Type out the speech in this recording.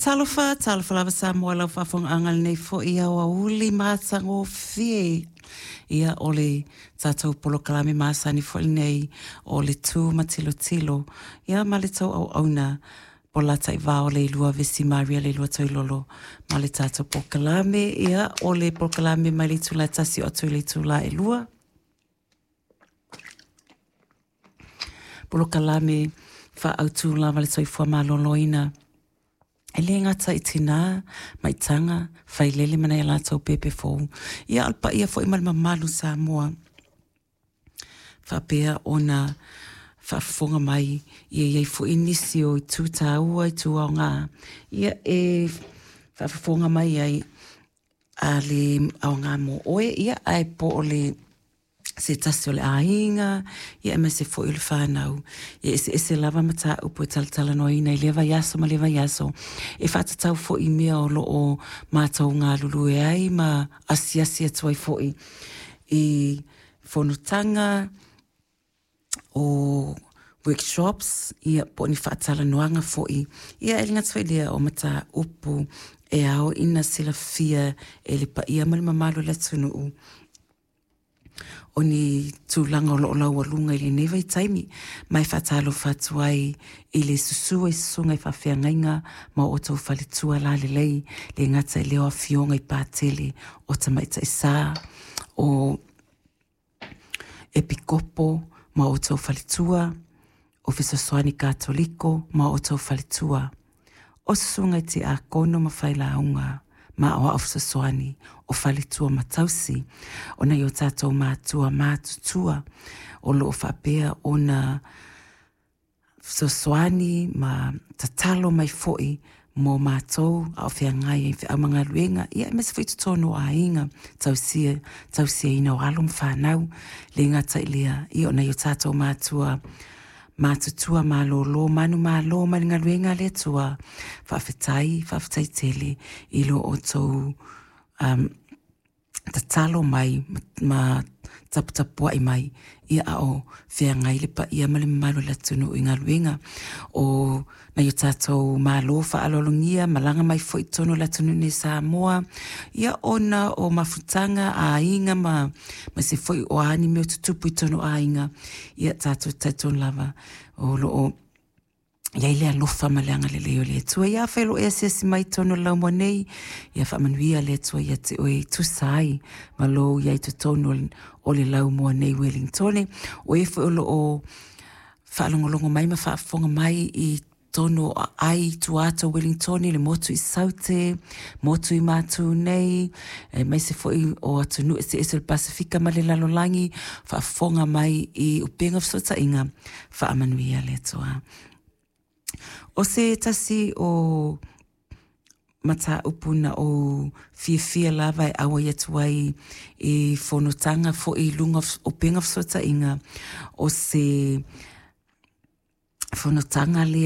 Talofa, talofa lava Samoa lau faafogaaga lenei foi aoauli matagofie. Ia, o le tatou polokalame masani foi lenei o le Tu ma Tilotilo, ia ma le tou auauna Polataivao Leilua Vesi Maria Leilua Toilolo ma le tatou polokalame, ia o le polokalame mai le itula e 1 oo atu i le itula e 2. Polokalame faaautu lava le soifua maloloina. E le gata i tinā, maitaga, failele ma nai a latou pepe fou, ia a o le paia foi ma le mamalu Samoa faapea ona faafofoga mai, ia i ai foi nisi o itu taua, itu aoga, ia e faafofoga mai ai a le aoga mo oe, ia ae po o le se tasi o le aiga, ia aemaise foi o le fanau. E eseese lava mataupu e talatalanoaina i lea vaiaso ma lea vaiaso, e faatatau foi i mea o lo o matou galulue ai ma asiasi atu ai foi i fonotaga, o workshops, ia po o ni faatalanoaga foi, ia e le gata foi i lea o mataupu e ao ina silafia e le paia ma le mamalu o le atunuu o ni tulaga o lo o laualuga i lenei vaitaimi. Ma e faatalofa atu ai i le susu ai susuga i faafeagaiga ma o outou faletua lalelei, le gata i lea o afioga i Patele o Tamaitai Sa, o Epikopo ma outou faletua, o Fesoasoani Katoliko ma outou faletua, o Susuga i Tiakono ma Failauga ma Aoao Fesoasoani, o faletua ma tausi, o nai o tatou matua matutua o lo o faapea ona fesoasoani ma tatalo mai foi mo matou a o feagai ai i feau ma galuega, ia aemaise foi totonu o aiga, tausia, tausiaina o alo ma fanau, le gata i lea, ia o nai o tatou matua matutua malolo manumalo mai le galuega a le Atua, faafetai, faafetai tele i lo outou tatalo mai ma taputapuai mai, ia a o feagai le paia ma le mamalu o le atunuu i galuega o nai o tatou malo faaaloalogia malaga mai foi i totonu o le atunuu nei Samoa, ia ona o mafutaga a aiga ma aemaise foi o a ni mea o tutupu i totonu o aiga, ia tatou te talitonu lava o lo o i ai le alofa ma le agalelei o le Atua. Ia afai o lo o e asiasi mai i totonu o le laumua nei, ia faamanuia le Atua ia te oe e tusa ai ma lou i ai totonu o le laumua nei Ueligitone. O e foi o lo o faalogologo mai ma faafofoga mai i totonu o aai i tua atu o Ueligitone, le motu i Saute, motu i Matu nei, aemaise foi o atunuu eseese o le Pasefika ma le lalolagi, faafofoga mai i upega fesootaiga, faamanuia le Atua. O se tasi o mataupu na ou fiafia lava e auai atu ai i fonotaga foi i luga o upega fesootaiga, o se fonotaga lea.